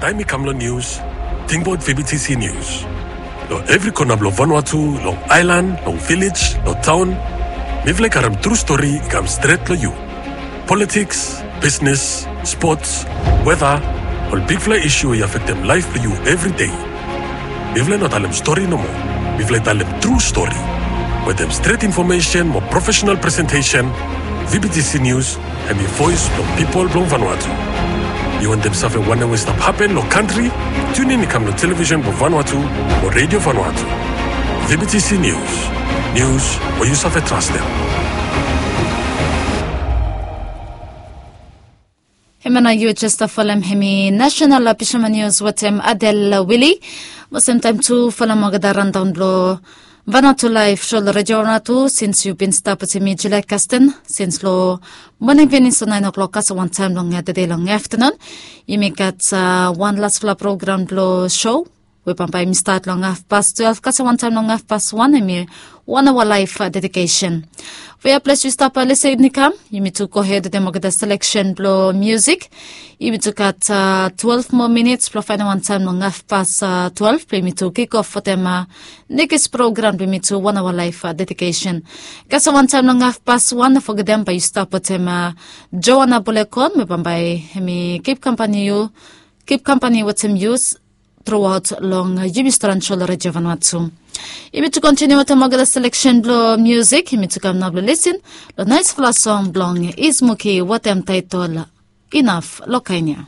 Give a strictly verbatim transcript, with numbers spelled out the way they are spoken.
Taem i kam long nius, tingbaot V B T C Nius. Long evri kona blong Vanuatu, long aelan, long vilej, long taon, mifala i karem tru stori i kam stret long yu. Politiks, bisnes, spots, weta, ol bigfala isu we i afektem laef blong yu evri dei. Mifala i no talem stori nomo. Mifala i talem tru stori. Wetem stret infomesen mo profesenal presentesen, V B T C Nius hem i voes blong pipol blong Vanuatu. Yu wantem save wanem we i stap hapen long kantri? Tunin i kam long televisen blong Vanuatu o redio Vanuatu. V B T C Nius. Nius we yu save trastem. Hemia nao yu jes stap folem hem i nasenal, a, Fisherman Nius wetem Adel Wili. Mo semtaem tu folem olgeta randaon blong Vanuatu Laef, so long redio Vanuatu, sins yu bin stap wetem mi, Julia Kasten, sins long moning finis long naen oklok kasem wantaem long tede long aftenun. Yumi gat, a, wan lasfala program blong so we bambae yumi stat long hafpas twelef kasem wantaem long hafpas wan, hem i wan aoa laef, a, dedikesen. Weaples yu stap, a, lisin i kam, yumi tu gohed wetem olgeta seleksen blong musik. Yumi tu gat, a, twelef moa minits blong faenem wantaem long hafpas, a, twelef blong yumi tu kikof wetem, a, nekis program blong yumi tu wan aoa laef, a, dedikesen. Kasem wantaem long hafpas wan, no fogetem bae yu stap wetem, a, Joana Bulekon, we bambae hem i kip kampani yu, kip kampani wetem yu truaot long, a, yumi stran so long redio Vanuatu. Yumi tu kontiniu wetem olgeta seleksen blong musik, yumi tu kam nao blong lisin long naesfala song blong Ismuki wetem taetol Inaf long Kaenia.